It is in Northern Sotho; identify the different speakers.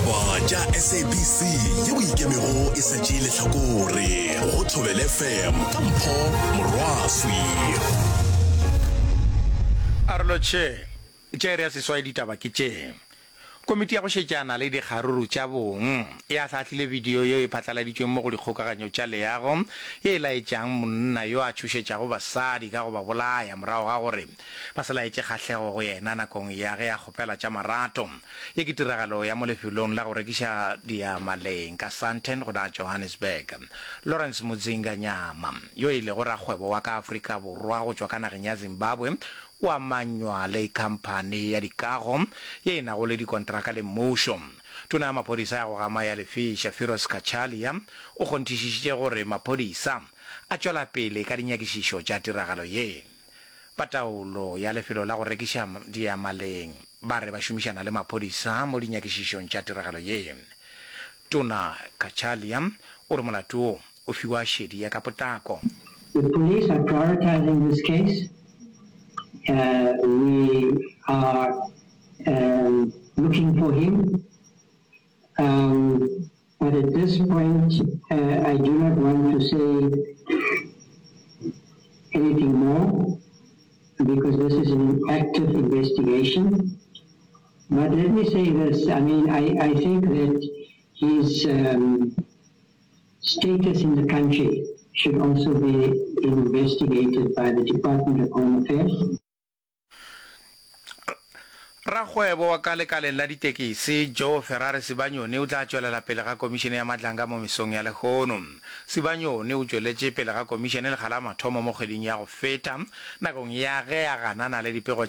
Speaker 1: Ditaba tša SABC yeo e ikemego e sa tšee lehlakore go Thobela FM ka Mpho Morwaswi.
Speaker 2: Arolotšhe tša iri ya seswai ditaba ke tše. Komiti ya go šetšana le dikgaruru tša bong e ahlaahlile bidio yeo e phatlaladitšweng mo go dikgokaganyo tša leago ye e laetšang monna yo a tšhošetšago basadi ka go ba bolaya morago ga gore ba se laetše kgahlego go yena nakong ya ge a kgopela tša marato. Ye ke tiragalo ya mo lefelong la go rekiša diyamaleng ka Sandton go la Johannesburg. Lawrence Mudzinga Nyama, yo e lego rakgwebo wa ka Afrika Borwa go tšwa ka nageng ya Zimbabwe, O amanywa le khamphani ya dikago ye e nago le dikontraka le mmušo. Tona ya maphodisa ya go gama ya lefiša, Firoz Cachalia, o kgonthišišitše gore maphodisa a tšwela pele ka dinyakišišo tša tiragalo ye. Ba taolo ya lefelo la go rekiša diyamaleng ba re ba šomišana le maphodisa mo dinyakišišong tša tiragalo ye. Tona Cachalia o re molato wo o fiwa šedi ya ka potlako.
Speaker 3: The police are prioritising this case. We are looking for him but at this point I do not want to say anything more because this is an active investigation. But let me say this, I mean I, I think that his um, status in the country should also be investigated by the Department of Home Affairs.
Speaker 2: Rakgwebo wa ka lekaleng la ditekisi, Joe Ferrari Sibanyoni o tla tšwelela pele ga Komišene ya Madlanga mo mesong ya lehono. Sibanyoni o tšweletše pele ga komišene lekga la mathomo mo kgweding ya go feta nakong ya ge a ganana le dipego tša.